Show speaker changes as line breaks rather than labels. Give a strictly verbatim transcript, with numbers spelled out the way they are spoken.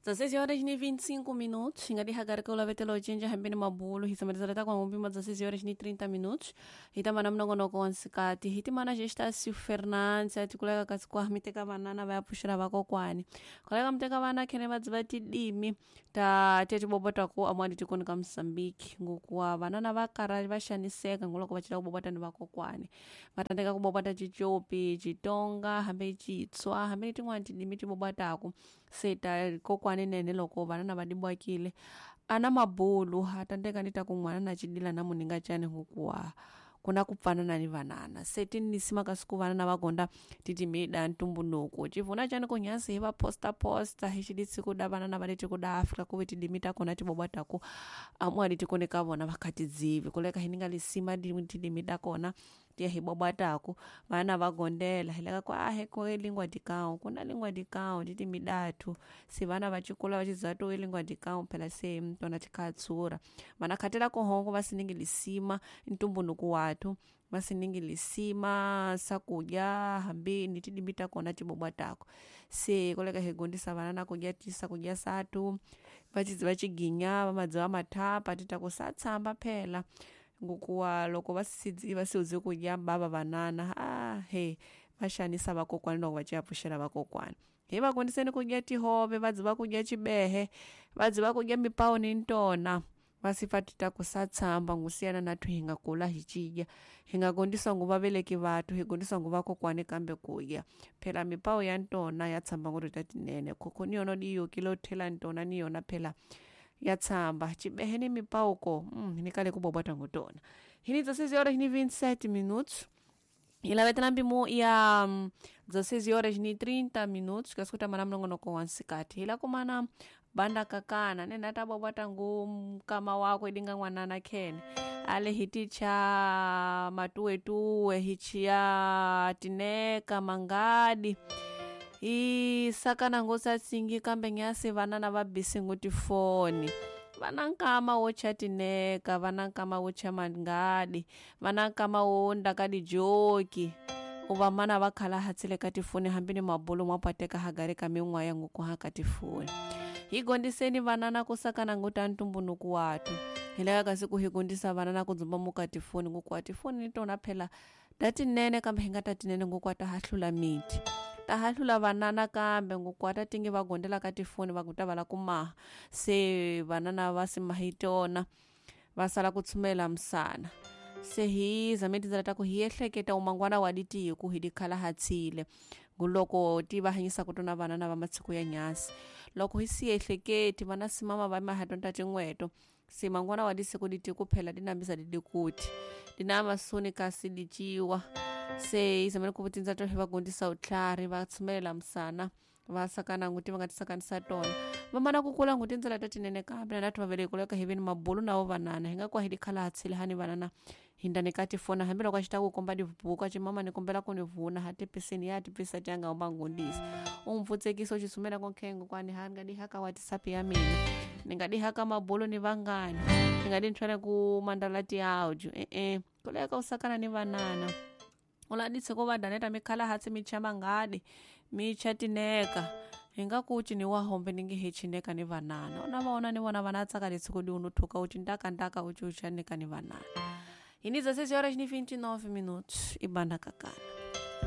Dezesseis horas e vinte e cinco minutos, ingadi hagarika ulavetela ocinja hambeni mabulu hitsamalizala takwa ngumpima dezesseis horas e trinta minutos hitamana mnongonoko wa nsikati hitimana Gestácio Fernandes atikuleka kasi kwa miteka vanana vayapuxela vakokwani koleka muteka vana khene vadziva tidimi ta tetibobota ku amwadi tikoni ka Moçambique ngokuwa vanana va kara va xaniseka ngoloko va cela kubobota ni vakokwani va tsandzeka ku bobota Xicopi, Xitonga hambi Xitswa hambi tin'wani tidimi ti bobotaku se ta kokwani nene loko vanana va dibwakile ana mabulu ha tsandzeka ni ta ku n'wana na cidila na muninga cani hikuva ku na ku pfanana ni vanana se ti nisima kasi ku vanana va gonda titimida ntumbuluko civuna cani ku nyasi hi va posta posta hi xidisi ku da vanana va le tiko da Afrika ku ve tidimi ta kona ti bobotaku amwadi tikoni ka vona va kha tidzivi kuleka hi ninga lisima tidimi ta kona ti ya hi bobotaku vana va gondela hi leka ku a he ku lingua de cão ku na lingua de cão titimi datu se vana va cikula va cidziva to lingua de cão phela se tona ti kha tsura vana khatela ku hongo va siningi lisima ntumbuluko watu va siningi lisima sakudya hambi ni tidimi ta kona ti bobotaku se koleka hi gondisa vana na kudya tisakudya satu va cidziva ciginya va madziva mathapa ti ta ku sa tshamba phela ngokuwa loko va si va siudze kudya bava vanana a he va xanisa vakokwani loko va ciya pfuxela vakokwani hi va gondiseni kudya tihove va dziva kudya cibehe va dziva kudya mipawu ni ntona va sifa ti ta ku sa tshamba ngusiyana na thu hi nga kula hi cidya hi nga gondisa ngu vaveleki vathu hi gondisa ngu vakokwani kambe kudya phela mipawu ya ntona ya tshamba nguri ta tinene khokho ni yona di yokile thela ntona ni yona phela ya tshamba cibehe ni mipawu ko mm, ni kale ku bobota ngutona hini dezesseis horas ni vinte e sete minutos ilavetela mpimo ya mm, dezesseis horas ni trinta minutos kasi kutamana mnongonoko wa nsikati hila kumana banda kakana nene ata bobota ngu mkama wako idinga n'wanana khene ale hiticha matuwetuwe hichiya tineka mangadi isakana ngosatsingi kambe nyasi vanana va bisi ngu tifoni vana nkama wo cha tineka vana nkama wo cha mangadi vana nkama wo ndaka dijoki uva mana va khala hatsile ka tifoni hambi ni mabulu mwapateka hagari ka min'waya nguku ha ka tifoni hi gondiseni vanana ku sakana ngu ta ntumbunuku watu hi leka kasi ku hi gondisa vanana ku dzumba muka tifoni nguku wa tifoni ni tona phela ta tinene kambe hi nga ta tinene nguku wa ta hahlula miti ta hahlula vanana kambe nguku ta tingi va gondela ka tifoni va kuta va la ku maha se vanana va si mahi tona va sala ku tshumela misana se hi zame tindlela ta ku hi ehleketa umangwana wa ditiku hi dikhala hatsile nguloko ti va hanyisaka tona vanana va matsiko ya nyasi loko hi si ehleketi vana simama va mahatonta tin'weto se mangwana wa disiku ditiku phela dinambisa didikuti dina masuni kasi diciwa se izamene ku tindza to va gondisa utlhari va tshumelela misana va sakana nguti va nga tisakanisa tona vamana ku kula nguti tindzela ta tinene kambe na nathu vaveleki kuleka hi veni mabulu na vo vanana hi nga kwa hi dikhala hatsile hani vanana hindani ka tifona hambiloko a xi ta ku komba dibuku a ci mama ni kombela ku ni vuna ha tipisini ya tipisa ti ya nga huma ngundisa u mpfutsekisa u xisumela konkhengo kwani ha nga dihaka WhatsApp ya mina ni nga dihaka mabulu ni vangani ni nga di nthwele ku mandala tiaudio e-e kuleka u sakana ni vanana uladitse ko vadaneta mikhala hatsi micha mangadi micha tineka hi nga ku cini wa hombe ni nge he chineka ni vanana una vaona ni vona vana tsaka letsiko di unu thuka uci ndaka ndaka uci uchanika ni vanana hini dezesseis horas ni vinte e nove minutos ibanda kakana.